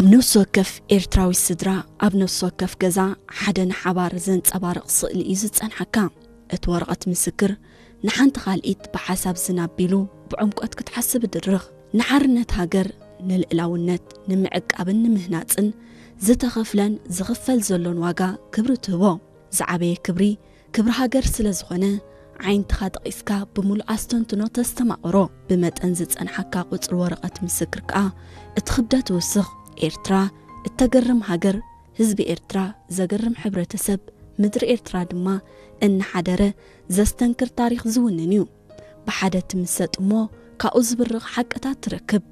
ኣብ ነፍሲ ወከፍ ኤርትራዊ ስድራ፣ ኣብ ነፍሲ ወከፍ ገዛ ሓደ ንሓባር ዘንጸባርቕ ስእሊ እዩ ዝጸንሓካ። እቲ ወረቐት ምስክር ንሓንቲ ካልኢት ብሓሳብ ዝናቢሉ ብዕምቆት ክትሓስብ ድርኽ። ንሓርነት ሃገር፣ ንልእላውነት ንምዕቃብን ንምህናጽን ዝተኸፍለን ዝኽፈል ዘሎን ዋጋ ክብሪ ትህቦ። ዝዓበየ ክብሪ፣ ክብሪ ሃገር ስለ ዝኾነ፣ ዓይንትኻ ጠቒስካ ብምሉእ ኣስተንትኖ ተስተማቕሮ። ብመጠን ዝጸንሓካ ቁጽሪ ወረቐት ምስክር ከኣ እቲ ክብደት ይውስኽ። ኤርትራ እተገርም ሃገር፣ ህዝቢ ኤርትራ ዘገርም ሕብረተሰብ፣ ምድሪ ኤርትራ ድማ እናሓደረ ዘስተንክር ታሪኽ ዝውንን እዩ። ብሓደ ትምሰጥ እሞ ካብኡ ዝብርቕ ሓቅታት ትረክብ።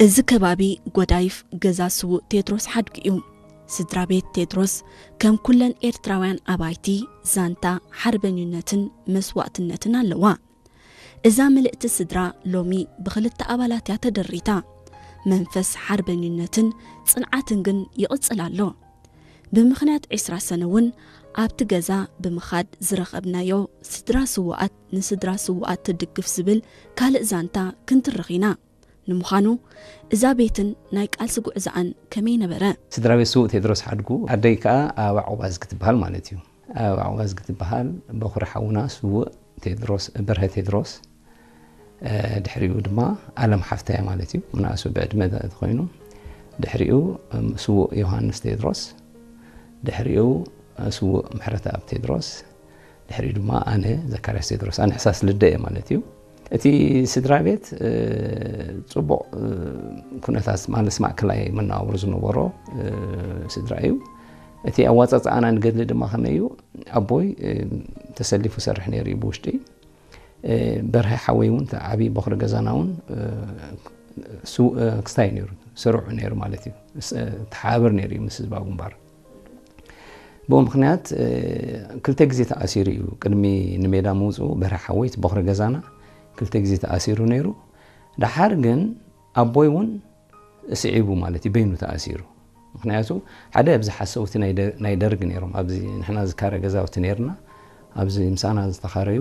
እዚ ከባቢ ጎዳይፍ ገዛ ስዉእ ቴድሮስ ሓድጉ እዩ። ስድራ ቤት ቴድሮስ ከም ኩለን ኤርትራውያን ኣባይቲ ዛንታ ሓርበኝነትን መስዋእትነትን ኣለዋ። እዛ ምልእቲ ስድራ ሎሚ ብኽልተ ኣባላት እያ ተደሪታ። መንፈስ ሓርበኝነትን ጽንዓትን ግን ይቕጽል ኣሎ። ብምኽንያት ዕስራ ሰነ እውን ኣብቲ ገዛ ብምኻድ ዝረኸብናዮ ስድራ ስዉኣት ንስድራ ስዉኣት ትድግፍ ዝብል ካልእ ዛንታ ክንትርኽ ኢና። ንምዃኑ እዛ ቤትን ናይ ቃልሲ ጉዕዞኣን ከመይ ነበረ? ስድራ ቤት ስዉእ ቴድሮስ ሓድጉ፣ ኣደይ ከኣ ኣበባ ዑባዝጊ ትበሃል ማለት እዩ። ኣበባ ዑባዝጊ ትበሃል፣ በኹሪ ሓውና ስዉእ ቴድሮስ፣ በርሀ ቴድሮስ፣ እ፣ ድሕሪኡ ድማ ኣለም ሓፍተያ ማለት እዩ። ምንኣሱ ብዕድመ ተኾይኑ፣ ድሕሪኡ፣ እም፣ ስዉእ ዮሃንስ ቴድሮስ፣ ድሕሪኡ፣ እ፣ ስዉእ ምሕረተኣብ ቴድሮስ፣ ድሕሪኡ ድማ ኣነ ዘካርያስ ቴድሮስ፣ ኣነ ሕሳስ ልደ እየ ማለት እዩ። እቲ ስድራ ቤት፣ እ፣ ጽቡቕ፣ እ፣ ኩነታት ማለት ማእከላይ መነባብሮ ዝነበሮ፣ እ፣ ስድራ እዩ። እቲ ኣዋጻጽኣና ንገድሊ ድማ ከመይ እዩ? ኣቦይ፣ እ፣ ተሰሊፉ ሰርሕ ነይሩ እዩ ብውሽጢ። እ፣ በርሀ ሓወይ እውን፣ እቲ ዓብዪ በኹሪ ገዛና እውን፣ እ፣ ስው-፣ እ፣ ክስታይ ነይሩ፣ ስሩዕ ነይሩ ማለት እዩ። ስ-፣ እ፣ ተሓባብር ነይሩ እዩ ምስ ህዝባዊ ግንባር። ብኡ ምኽንያት፣ እ፣ ክልተ ግዜ ተኣሲሩ እዩ። ቅድሚ ንሜዳ ምውፅኡ በርሀ ሓወይ፣ እቲ በኹሪ ገዛና፣ ክልተ ግዜ ተኣሲሩ ነይሩ። ደሓር ግን ኣቦይ እውን ስዒቡ ማለት እዩ፣ በይኑ ተኣሲሩ። ምኽንያቱ ሓደ ኣብዚ ሓሰውቲ ናይ ደ-፣ ናይ ደርግ ነይሮም፣ ኣብዚ ንሕና ዝካረ ገዛውቲ ነይርና፣ ኣብዚ ምሳና ዝተኻረዩ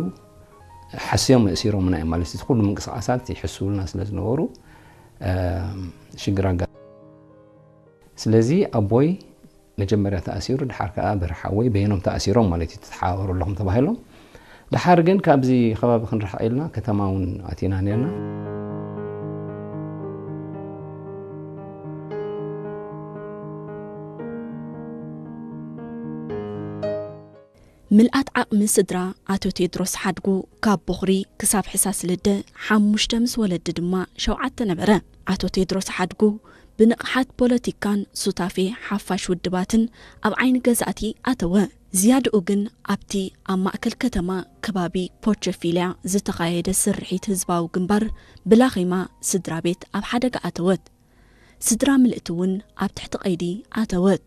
ሓስዮም እሲሮምና እዮም ማለት እዩ። እቲ ኩሉ ምንቅስቓሳት ይሕስውልና ስለ ዝነበሩ፣ እ፣ ሽግር ኣጋ-፣ ስለዚ ኣቦይ መጀመርያ ተኣሲሩ፣ ደሓር ከኣ በርሀ ሓወይ በይኖም ተኣሲሮም ማለት እዩ፣ ተተሓባበሩ ኣለኹም ተባሂሎም። ደሓር ግን ካብዚ ከባቢ ክንርሕቕ ኢልና ከተማ እውን ኣቲና ነርና። ምልኣት ዓቕሚ ስድራ ኣቶ ቴድሮስ ሓድጉ ካብ ቦኽሪ ክሳብ ሕሳስ ልደ ሓሙሽተ፣ ምስ ወለዲ ድማ ሸውዓተ ነበረ። ኣቶ ቴድሮስ ሓድጉ ብንቕሓት ፖለቲካን ሱታፌ ሓፋሽ ውድባትን ኣብ ዓይኒ ገዛእቲ ኣተወ። ዝያድኡ ግን ኣብቲ ኣብ ማእከል ከተማ ከባቢ ፖቸፊልያ ዝተኻየደ ስርሒት ህዝባዊ ግንባር ብላኺማ ስድራ ቤት ኣብ ሓደጋ ኣተወት። ስድራ ምልእቲ እውን ኣብ ትሕቲ ቀይዲ ኣተወት።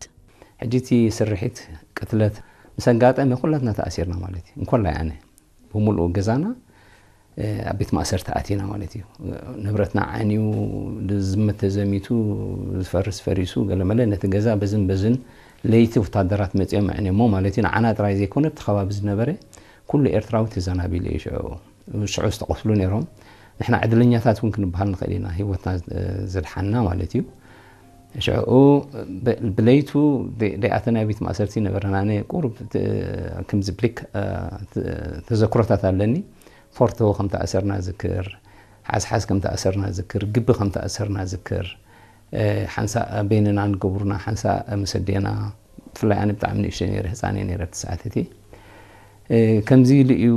ሕጂ እቲ ስርሒት ቅትለት ምስ ኣጋጠመ ኩላትና ተኣሲርና ማለት እዩ። እንኮላይ ኣነ ብምሉኡ ገዛና፣ እ፣ ኣብ ቤት ማእሰርቲ ኣቲና ማለት እዩ። ንብረትና ዓንዩ፣ ዝዝመት ተዘሚቱ፣ ዝፈርስ ፈሪሱ፣ ገለመለ ነቲ ገዛ በዝን በዝን ለይቲ ወታደራት መጺኦም ኣዕንዮሞ ማለት እዩ። ንዓና ጥራይ ዘይኮነ፣ ኣብቲ ከባቢ ዝነበረ ኩሉ ኤርትራዊ ተዘናቢሉ እዩ ሽዑ። ሽዑ ዝተቐትሉ ነይሮም። ንሕና ዕድለኛታት እውን ክንበሃል ንኽእል ኢና፣ ህይወትና፣ እ፣ ዘድሓንና ማለት እዩ። ሽዑ ብ-፣ ብለይቱ ደ-፣ ደይኣተና ቤት ማእሰርቲ ነበረና። ኣነ ቁሩብ ተ-፣ ከምዚ ብሊክ፣ እ፣ ተ-፣ ተዘክሮታት ኣለኒ። ፎርቶ ከም ተኣሰርና ዝክር፣ ሓዝሓዝ ከም ተኣሰርና ዝክር፣ ግቢ ከም ተኣሰርና ዝክር፣ እ፣ ሓንሳእ በይንና ንገብሩና፣ ሓንሳእ ምስ ኣዴና፣ ብፍላይ ኣነ ብጣዕሚ ንእሽተይ ነይረ፣ ህፃን እየ ነይረ ኣብቲ ሰዓት እቲ። እ፣ ከምዚ ኢሉ እዩ